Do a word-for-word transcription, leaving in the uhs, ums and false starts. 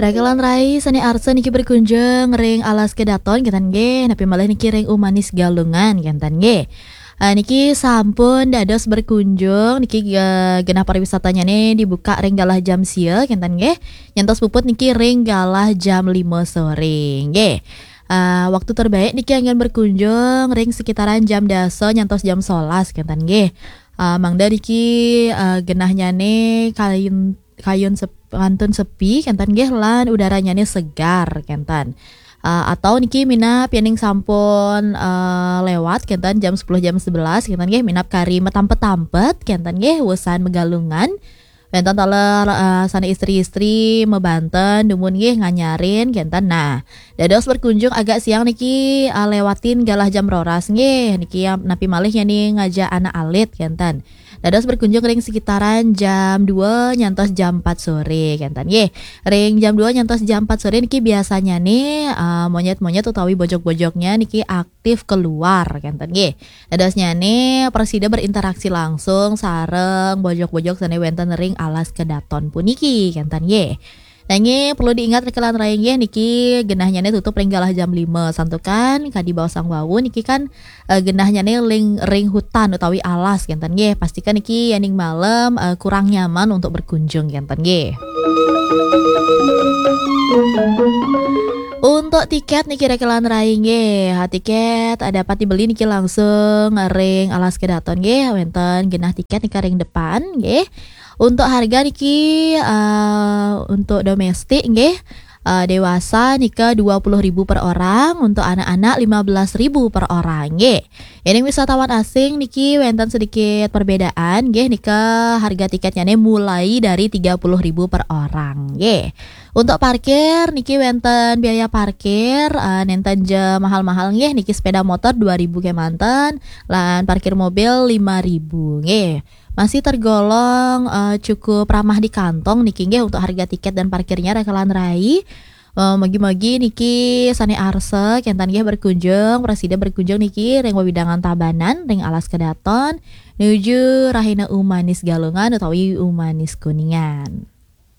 Rakelan rai sane arsa niki berkunjung ring Alas Kedaton, kenten nggih, napi malih niki ring Umanis Galungan, kenten nggih. Ah, niki sampun dados berkunjung, niki, eh, genah pariwisatanyane dibuka ring galah jam sia, kenten nggih. Nyantos puput niki ring galah jam lima sore, nggih. Ah, waktu terbaik niki anggen berkunjung ring sekitaran jam dasa nyantos jam solas, kenten nggih. Ah, mangda niki, ah, genahnyane kayun, kayun sep-, kantun sepi, kenten nggih, lan udaranyane segar, kenten. Ah, atau niki minab yening sampun, ah, lewat, kenten, jam sepuluh, jam sebelas, kenten nggih, minab kari matampet-tampet, kenten nggih, wusan magalungan. Wenten taler, ah, sane istri-istri mabanten, dumun nggih nganyarin, kenten. Nah, dados berkunjung agak siang niki, ah, lewatin galah jam roras nggih. Niki, ah, napi malih yening ngajak anak alit, kenten. Dados berkunjung ring sekitaran jam dua nyantos jam empat sore, kenten nggih. Ring jam dua nyantos jam empat sore niki biasanyane, ah, monyet-monyet utawi bojog-bojognya niki aktif keluar, kenten nggih. Dadosnyane prasida berinteraksi langsung sareng bojog-bojog sane wenten ring Alas Kedaton puniki, kenten nggih. Nanging perlu diingat, rakelan rai nggih, niki genahnyane tutup ring galah jam lima, santukan kadi baosang wau niki kan, eh, genahnyane ring, ring hutan utawi alas, kenten nggih. Pastikan niki yening malem, eh, kurang nyaman untuk berkunjung, kenten nggih. Untuk tiket niki, rakelan rai nggih, ha, tiket, eh, dapat dibeli niki langsung ring Alas Kedaton nggih, wenten genah tiket nika ring depan nggih. Untuk harga niki, eh, untuk domestik nggih, eh, dewasa nika dua puluh ribu per orang, untuk anak-anak lima belas ribu per orang nggih. Yening wisatawan asing niki wenten sedikit perbedaan nggih, nika harga tiketnyane mulai dari tiga puluh ribu per orang nggih. Untuk parkir niki wenten biaya parkir, eh, nenten ja mahal-mahal nggih, niki sepeda motor dua ribu kemanten, lan parkir mobil lima ribu nggih. Masih tergolong, eh, cukup ramah di kantong niki nggih untuk harga tiket dan parkirnya, rakelan rai. Eh, mugi-mugi niki sane arsa kenten nggih berkunjung, prasida berkunjung niki ring wewidangan Tabanan, ring Alas Kedaton, nuju Rahina Umanis Galungan utawi Umanis Kuningan.